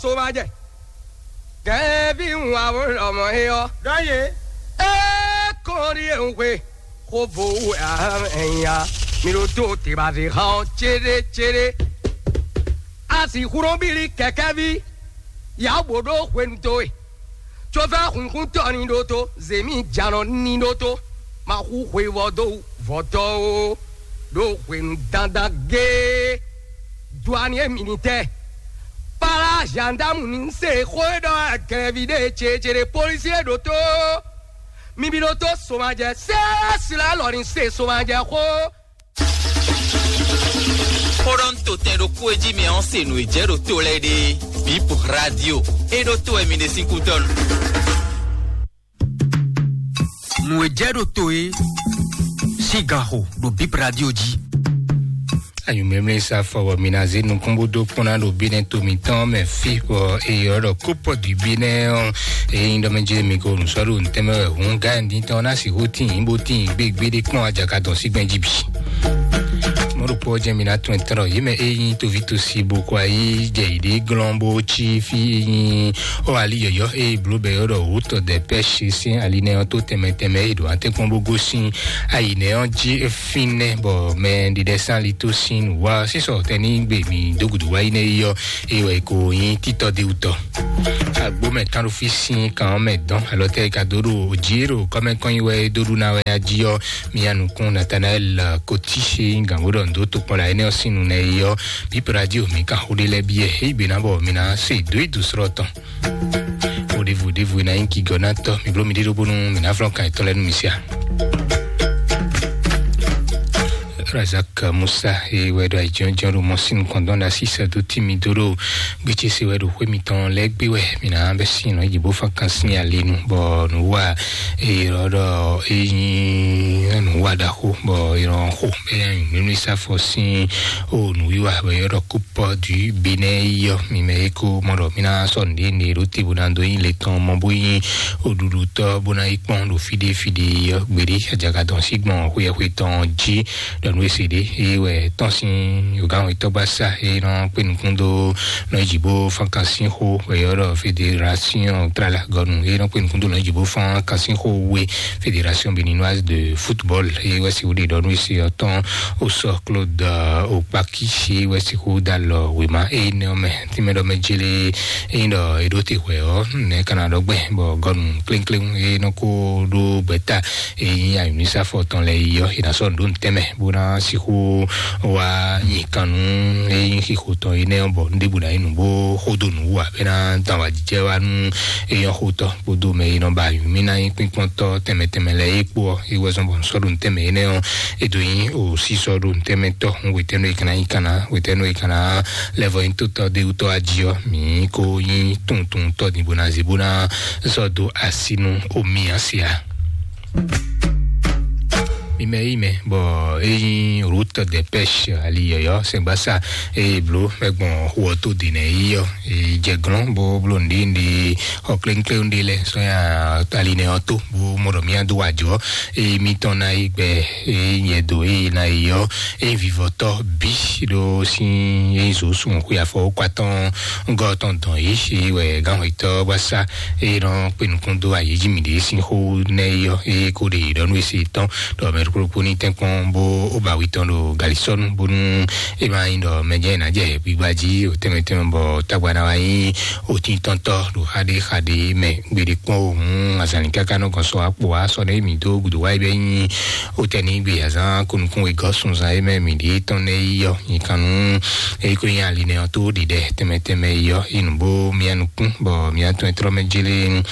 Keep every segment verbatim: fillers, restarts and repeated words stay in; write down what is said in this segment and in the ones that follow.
So ma jɛ. Kɛ́ví ń wa wó lɔmɔ é ɔ́. Dɔ́ yě. É kɔn ɖíe ń hwe. Xó vo wú ɛ nya. Mi ɖo tó te ba zé xá ɔ́ céɖécéɖé. A sì xúró bílí kɛ̀kɛ́ví. Yǎ bǒ ɖó hwenu towe. Cófɛ́ hunkuntɔ́ ní ɖótó, zěmí janɔ ní ɖótó, ma xú hweyivɔ́ dó vɔ̌tɔ́ ó, ɖó hwenu dandan géé. Duaniɛ minitɛ, para zandamu ní se xó e ɖɔ wɛ gɛlɛvi ɖe ceɖeɖe polisi e ɖótó, mi bi ɖótó somajɛ sɛ́sɛ́ alɔ ní se somajɛ xó. Xó ɖɔ ń to tɛn ɖokpó e jí mi ɔ́ se nǔ e jɛ ɖo to lɛ́ɛ ɖe. Bip Radio, é ɖó to wɛ mi ɖe sín kútɔ́nu. Nǔ e jɛ ɖo to e sín gan xo ɖo Bip Radio jí. Anyǔmɛmɛ sa fɔ bɔ mi ná zé nukún bó dó kpɔ́n ná ɖo bínɛ́ to mitɔn mɛ fí bɔ eyɔ ɖɔ kópɔ dǐ bínɛ́ ɔ́. Ényí ɖɔ mɛ jɛ mi ko nǔ sɔ́ ɖo ntɛ́ mɛ wɛ hǔn gá ɛ dín tɔn ná sixú tín bó tín gbégbé ɖé kpɔ́n ajakadɔn sí gbɛ́n jí bǐ. Mɔɖokpɔ́ jɛ mi ná tún ɛ tɔn ɖɔ yě mɛ ényí toví tosi bó kɔ ayí jɛ yě ɖě glɔ́n bó cí fí ényí ɔ́ ali yɔ̌yɔ́ eye bló bɛ yɔ́ ɖɔ wǔ tɔ dɛ pɛ́ si sín ali nɛ́ ɔ́ tó tɛnmɛ tɛnmɛ e ɖo atɛ́nkpɔ́n bó gosín ayi nɛ́ ɔ́ jí fínɛ́ bɔ mɛ ɖiɖɛ sín ali tó sín nǔ wá sísɔ tɛnígbe mi dó gǔdo wá yi nɛ́ yi ɔ́ eye wɛ ko nyí títɔ dé wutɔ. Agbómɛ kánɖófí sín kan ɔ́ mɛ dɔn alɔ tɛ ka dó ɖo jǐ ɖo kɔmɛkɔnyi wɛ dó ɖu ná wɛ ají ɔ́. Mia nukún Nathanael Koti gǎnbó ɖɔ ndo tokpɔn la énɛ́ ɔ́ sín nu nɛ yi ɔ́. Bíp radio mi kan xó ɖé lɛ́ɛ biɛ éyí gbe ná bɔ mi ná se dó yi dǒ srɔ́ tɔn. Oɖevu ɖevu e ná nyí gigɔ ná tɔ mi bló mi ɖé ɖó bónú mi ná flɔ́n kan yětɔn lɛ́ɛ nú mi sia. Razak Musa e wɛ ɖo ayǐjínjɔ́n ɖo mɔ sín nukɔn dɔn ɖo así sɛ dó tí mi dó ɖo gbétsese wɛ ɖo xwé mitɔn lɛ́ɛ gbé wɛ mi ná bɛ sín nɔ yi bó fán kan sín alinu bɔ nǔ wa e ɖɔ ɖɔ e nyí nǔ wa ɖaxó bɔ e nɔ xo bɛ nunu sa fɔ sín o nǔwiwa bɛ yɔ ɖɔ kópɔ du benɛ yɔ mi mɛ e ko mɔ ɖɔ mi ná sɔ nǔɖé nǔɖé ɖó te bó ná dó nyí le tɔn mɔ bó nyí oɖuɖutɔ bó ná yi kpɔn ɖo fíɖé fíɖé yɔ gbeɖé ajagadɔn sí gbɔn xwéxwé tɔn jí ɖɔ nú ese ɖé eye wɛ tɔn sín yogán wetɔ́ gbá sá eye nɔ kpé nukún dó nɔ yi bó fán kan sín xó wɛ yɔ ɖɔ fédération trala gɔnu eye nɔ kpé nukún dó nɔ yi bó fán kan sín xó we fédération béninoise de football eye wɛ si wúɖe ɖɔ nú ese ɔtɔn osɔ Claude Okpaki eye wɛ si xó da lɔ wema eye nɛ mɛ tìmɛ ɖɔ mɛ jele eye ɖɔ eɖo te hwɛ ɔ nɛ kana ɖɔ gbɛ bɔ gɔnu klénkléŋ eye nɔ kó ɖó gbɛta eye nyi ayɔnisa fɔ tɔn lɛ yi ɔ ina sɔ ɖó ntɛmɛ bó ná sixú wá nyi kan nú eye nyi xixo tɔn yi nɛ bɔ ndébù ná yi nù bó xódó nù wú abɛ ná dan wá jijɛ wá nú eye xótɔ kpódó mɛ yi nɔ ba ayɔnmi ná nyi kpínkpɔntɔ tɛmɛ tɛmɛ lɛ yi kpó ɔ yi wɛ zɔn bɔ nsɔ ɖó ntɛmɛ yi nɛ ɔ edo nyi o sísɔ ɖó ntɛmɛ tɔ ŋu wetɛnu yi kana yi kana wetɛnu yi kana lɛvɔ nyi tótɔ de wutɔ aji ɔ mi ko nyi tuntun tɔ di bona zi bona zɔ do asinu omi asia. Mimɛ yi mɛ bɔ eyi route de pêche ali yɔyɔ sɛgbasa eye blo mɛgbɔn xɔ tó dènɛ yi yɔ jɛ glɔn bo blo ndi ndi xɔ klénkléwún ɖé lɛ sɔnya ali nɛ ɔ tó bo mɔ ɖɔ mía do wájú ɔ eye mitɔn ná yi gbɛ eye nyɛ do eye ná yi yɔ eye vivɔtɔ bi ɖo sin eye zo sun xwe afɔ kɔ atɔn ŋgɔ tɔn dɔn yi eye wɛ gánxɔtɔ bá sá eye nɔ kpé nukún dó ayéjì mi ɖe sin xó nɛ yɔ eye kó ɖe ɖɔ nú esi tɔn ɖɔ mɛ ɖokpó ní tɛnkpɔn bó ó ba wi tɔn ɖo galisɔnu bónú e ma nyi ɖɔ mɛ jɛ ná jɛ gbigba jí o tɛmɛ tɛmɛ bɔ tagba na wa nyi o tin tɔntɔ ɖo xaɖe xaɖe mɛ gbeɖe kpɔn o hun azali kaka nɔ gɔn sɔ akpo wa sɔ ne mi do gudu wa yi bɛ nyi o tɛ ni gbe azan kunukun e gɔ sunzan e mɛ mi ɖi tɔn ne yi yɔ nyi kanu e ko nyi ali ne ɔ to ɖi ɖɛ tɛmɛ tɛmɛ yi yɔ inu bo mia nukun bɔ mia tɔn trɔ mɛ jele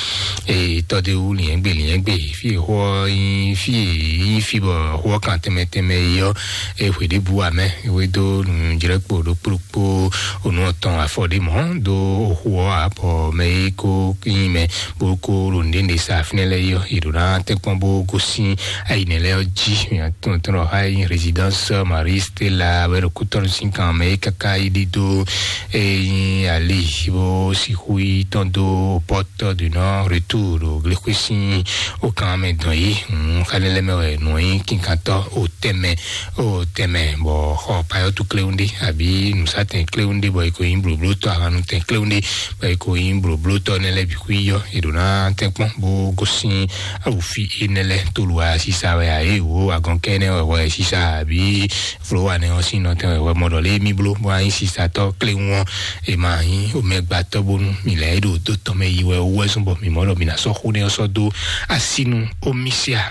e tɔ de wu liɛn gbe liɛn gbe fi e xɔ yi fi e yi fi bɔ xɔ kan tɛmɛ tɛmɛ yi yɔ e hwe ɖe bu amɛ e we do nu jrɛ kpo ɖo kplo kpo onu ɔtɔn afɔ ɖe mɔ do oxu ɔ abɔ mɛ yi ko yin mɛ bo ko ɖo nɖe nɖe sa finɛ lɛ yɔ yi ɖo na tɛkpɔn bo gosin ayi nɛ lɛ ɔ ji tɔntɔn ha yi résidence Marie Stella wɛ ɖo kutɔnu sin kan mɛ yi kaka yi ɖi do eyi ali bo sixu yi tɔn do porte du nord retour ɖo glexwe sin o kan mɛ dɔn yi xalɛ lɛ mɛ wɛ nɔ yi kinkantɔ o tɛmɛ o tɛnmɛ bɔ xɔ payɔtu kléwúndé àbí nǔsatɛn kléwúndé bɔ è ko nyí blǒblótɔ́, ahanutɛn kléwúndé bɔ è ko nyí blǒblótɔ́ nɛ́ lɛ́ɛ bǐ xwí yɔ è ɖǒ ná tɛ́nkpɔ́n bó gosín awǔfi énɛ́ lɛ́ɛ. Tolu wɛ sisa wɛ ǎ, é wǒ agɔnkɛ́ nɛ́ wɛ wɛ sisa àbí folowa nɛ́ ɔ́ sín nɔtɛn wɛ wɛ mɔ ɖɔ lé mì bló bó ná nyí sisatɔ́ kléwún ɔ́, è ma nyí omɛgbatɔ́ bónú mì lɛ́ é ɖo dó tɔn mɛ yi wɛ wú wɛ zɔ́n bɔ mǐ mɔ ɖɔ mǐ ná sɔ́ xó nɛ́ ɔ́ sɔ́ dó asínu omisia.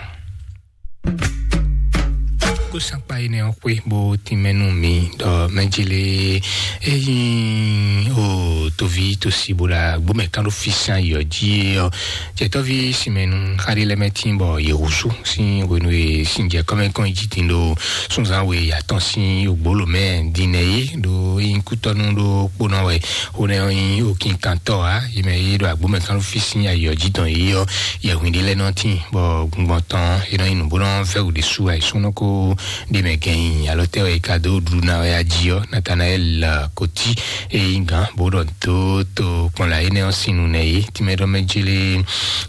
Kó sankpa énɛ́ ɔ́ xwé bó tínmɛ nú mi ɖɔ mɛjele ényí o toví tosi bó ɖo agbómɛ kán ɖo físán yɔ jí ɔ́, jɛtɔ́ví sinmɛnu xaɖé lɛ́ mɛ tín bɔ yě húzú sín hwenu e sin jɛ kɔ́mɛkɔ́n jí din ɖo súnzán we atɔn sín ògbólò mɛ din nɛ yé ɖo ényí kútɔ́nú ɖó kpónɔ wɛ xó nɛ́ ɔ́ nyí okínkantɔ́ ǎ. Yě mɛ yé ɖo agbómɛ kán ɖo físín ayɔ jí dɔn yé ɔ́, yɛhwin ɖé lɛ́ɛ nɔ tín bɔ gbɔngbɔn tɔn é nɔ nyí nǔ bó nɔ vɛ́ wǔ ɖésú ayǐsúnɔ kó ɖ'é mɛ gɛn nyi alɔ tɛ́ wɛ è ka dó ɖu ná wɛ ají ɔ́, Natanaɛl Koti e nyí gǎn bó ɖɔ dó to kpɔnla énɛ́ ɔ́ sín nu nɛ yé. Tínmɛ ɖɔ mɛ jélé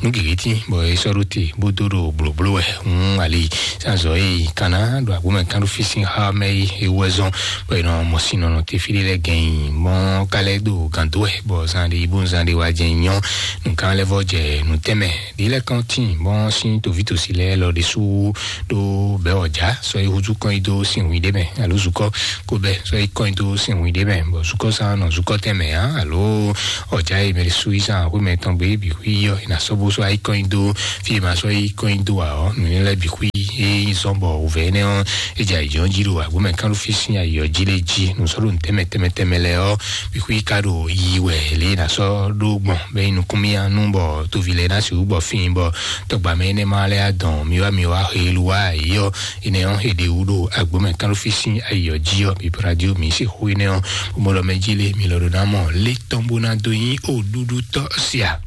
nú gěgé tín bɔ é sɔ́ ɖó te bó dó ɖo blǒbló wɛ. Hun ali sánzɔ e yi kanna ɖo agbómɛ kán ɖo fí sín xá mɛ yi é wɛ zɔn bɔ è nɔ mɔ sin nɔnɔ te fí ɖé lɛ́ɛ gɛn nyi mɔ ka lɛ́ ɖo gǎn dó wɛ bɔ zan ɖé yi bó zan ɖé wá jɛ nyɔ nǔkan lɛ́ vɔ jɛ nǔtɛmɛ ɖi lɛ́ kɔn tíin bɔ sín tòvítòsí lɛ́ɛ lɔ ɖésú ɖó bɛ̌ ɔ̌já sɔ yi húzú kɔn yi dó sin hwǐ ɖé mɛ alo zukɔ kó bɛ sɔ yi kɔn yi dó sin hwǐ ɖé mɛ bɔ zukɔ sán nɔ zukɔ tɛn mɛ ǎ alo ɔ̌já yi mɛ ɖésú yi sán xwé mɛ tɔn gbé bǐ xwí yɔ yi ná sɔ́ bó sɔ ayi kɔn yi dó fí e ma sɔ yi kɔn yi dó ǎ ɔ́ nǔnywɛ́ lɛ́ɛ bǐ xwí é yi zɔ́n bɔ wǔvɛ́ énɛ́ ɔ́ é jɛ ayǐjɔ́n jí ɖo agbǒmɛ kán ɖo fí sín ayǐ ɔ́ jí lé jí nǔ sɔ́ ɖo nǔ tɛnmɛ tɛnmɛ tɛnmɛ lɛ́ɛ ɔ́ bǐ xwí ka ɖo yi wɛ lě ná sɔ́ ɖó gbɔn bɛ yi nukúnmíyá nú bɔ toví lɛ́ɛ ná sixú gbɔ fín bɔ tɔgbà mɛ énɛ́ ma lɛ́ adɔn mi wá mi wá xelu wá yí ɔ́ énɛ́ ɔ́ è ɖe wú ɖo agbǒmɛ kán ɖo fí sín ayǐ ɔ́ jí ɔ́ bǐ radio mi sixú énɛ́ ɔ́ bó mɔ ɖɔ mɛ jí lé mi lɔ ɖo ná mɔ lé tɔn bó ná dó nyí òɖúɖú tɔ́ sia.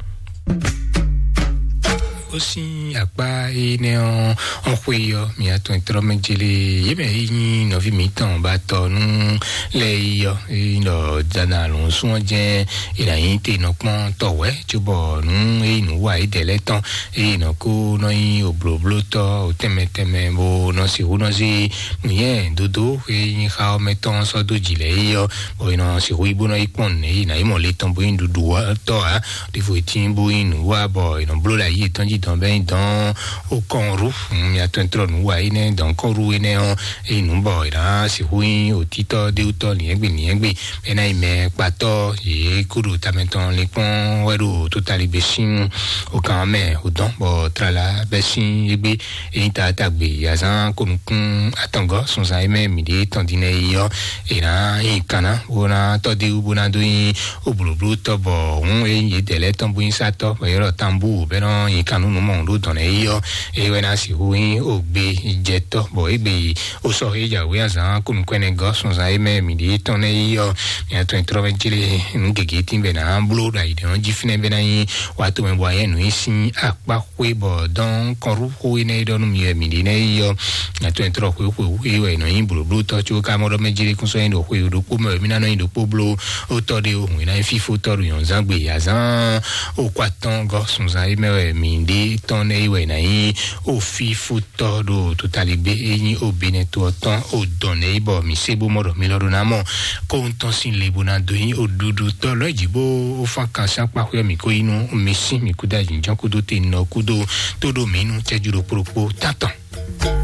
Ó sín akpá énɛ́ ɔ́ ɔ́ xwé ɔ́ mi atɔn trɔ́ mɛ jélé yě mɛ é nyí nɔví mǐtɔn ba tɔ nú lɛ yi ɔ́ é nyí ɖɔ dana lɔ̌nsún ɔ́ jɛ́n è nǎ nyí te nɔ kpɔ́n tɔwɛ̌ cóbɔ nǔ é nyí nǔ wa é dɛ̌ lɛ́ɛ tɔn é nɔ kó nɔ nyí òblǒblótɔ́ tɛnmɛ tɛnmɛ bó nɔ sixú nɔ zé nǔnyɛ dódó é nyí xá ɔ́ mɛ tɔn sɔ́ dó jǐ lɛ́ɛ é ɔ́ bɔ è nɔ sixú yi bó nɔ yi kpɔ́n nǔ é nǎ yi mɔ le tɔn bó nyí ɖuɖu tɔ́ ǎ ɖěvo tín bó nyí nǔ wa bɔ è nɔ bló ɖo ayǐ yětɔn jí dɔn bɛ́ nyí dɔn ó kɔn rú mi atɔn trɔ nǔ wa énɛ́ dɔn kɔn rú énɛ́ ɔ́ é nǔ bɔ è nǎ sixú nyí òtítọ́ déwútɔ́ nìyɛ́gbé nìyɛ́gbé é ná nyí mɛ kpatɔ́ yě kó ɖo tamɛ tɔn linkpɔ́n wɛ ɖo tótalígbé sín okan mɛ ò dɔn bɔ tlala bɛ́ sín égbé é nyí taatagbe azán kó nukún atɔngɔ́ sunzan é mɛ mǐ ɖe tɔn din lɛ́ɛ yi ɔ́ è nǎ nyi kanna bó ná tɔ́ dé wú bó ná dó nyí ó blǒbló tɔ́ bɔ hǔn é nyí yědɛɛ lɛ́ɛ tɔn bó nyí sátɔ́ bɔ yɔ́ ɖɔ tanbú bɛ́ nɔ nyi kan nú nǔ mɔ ɖó dɔn lɛ́ɛ yi ɔ́ é wɛ ná sixú nyí ó gbé jɛ tɔ́ bɔ égbé yi ó sɔ́ é jǎwé azán kó nukún ɛnɛ gɔ́ sunzan é mɛ mǐ ɖe tɔn lɛ́ɛ yi ɔ́ mǐ atɔn trɔ́ mɛ jlé nǔ gěgé tín bɛ ná bló ɖo ayǐ ɖe ɔ́ jí fínɛ́ bɛ ná nyí wá to mɛ bɔ ayɛ nǔ nyi sín akpá xwé bɔ dɔn kɔnɖúxó énɛ́ e ɖɔ nú mi wɛ mǐ ɖe nɛ́ yi ɔ́ atɔn e tlɔ xwé xwé wú é wɛ è nɔ nyí blǒblótɔ́ có ka mɔ ɖɔ mɛ jlé kún sɔ́ nyi ɖo xwé ɖokpó mɛ wɛ mí ná nɔ nyi ɖokpó bló ó tɔ́ ɖé o hǔn é ná nyí fífótɔ́ ɖo nyɔ̌nzán gbe azán ó kɔ atɔ́n gɔ́ sunzan é mɛ wɛ mǐ ɖe tɔn nɛ́ yi wɛ è nǎ nyí ó fífótɔ́ ɖo totaligbé é nyí ó benɛto ɔ́ tɔn ó dɔn nɛ́ yi bɔ mǐ sé bó mɔ ɖɔ mi lɔ ɖó ná mɔ kó ń tɔn sín le bó ná dó nyí ó ɖuɖu tɔ́ lɔ́ jǐ bó ó fán kan sín akpá xwé ɔ́ mǐ kó yí nú mi sín mǐ kúdó ayǐjínjɔ́n kúdó te nɔ kúdó tó ɖo mǐ nú cɛ́jú ɖokpó ɖokpó tántɔn.